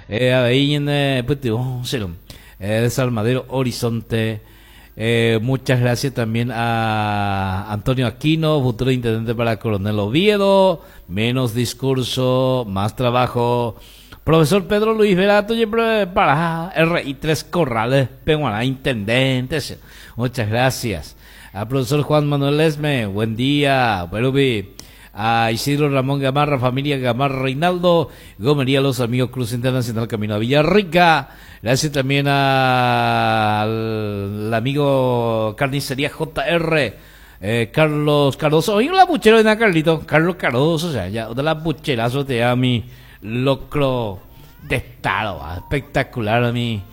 Eh, avei ñane pytyvõ che eh, Desarmadero Horizonte. Eh, muchas gracias también a Antonio Aquino, futuro intendente para Coronel Oviedo. Menos discurso, más trabajo. Profesor Pedro Luis Verato, para RI Tres Corrales, Peguará, intendente. Muchas gracias. A profesor Juan Manuel Esme, buen día. Perubi. A Isidro Ramón Gamarra, familia Gamarra Reinaldo, Gomería Los Amigos Cruz Internacional Camino a Villarrica. Gracias también al amigo Carnicería JR, eh, Carlos Cardoso. Oye, la puchero de Carlito, Carlos Cardoso, o sea, ya, de la pucherazo te da mi locro testado, ah, espectacular a mi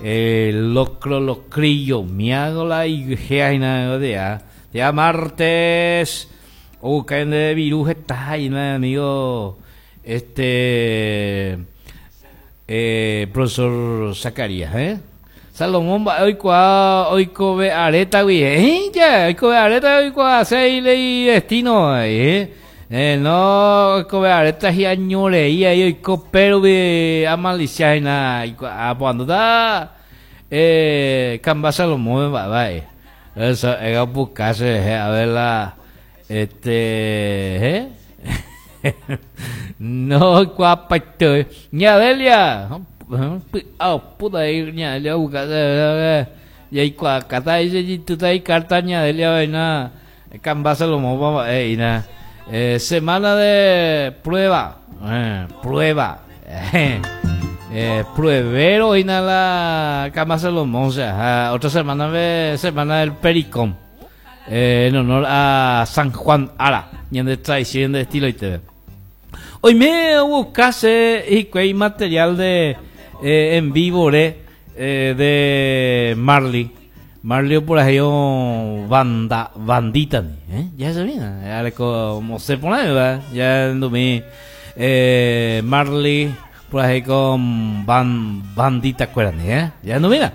eh, locro locrillo, miagola y de ya martes. Oh, caen de virus está ahí, amigo. Este. Eh, profesor Zacarías, ¿eh? Salomón, hoy cua, hoy kobe areta, güey, ¿eh? Ya, hoy kobe areta, hoy cua, seile y destino, ¿eh? Eh, no, kobe areta y añoreía, y hoy copero de amalicia, y nada, y cua, cuando da, eh, Camba Salomón, va, va, eh. Eso, era buscarse, a ver la, este, ¿eh? No, guapaito. Ña Delia. Ah, puta ahí, ña Delia, busca. Y ahí, cuacata, dice, tú ahí, carta, ña Delia, vaina. Camba Salomón, eh, na. Eh, semana de prueba. Eh, prueba. Eh, pruebero y nada, Camba Salomón, o sea, otra semana de semana del Pericón. Eh, en honor a San Juan Ara, y en de tradición de estilo y TV. Hoy me buscase y que hay material de eh, en vivo eh, de Marley. Marley por ahí oh, banda bandita, ¿eh? Ya se viene, ya como se pone, ¿verdad? Ya no me eh, Marley por ahí con ban, bandita, acuérdate, ¿eh? Ya no mira.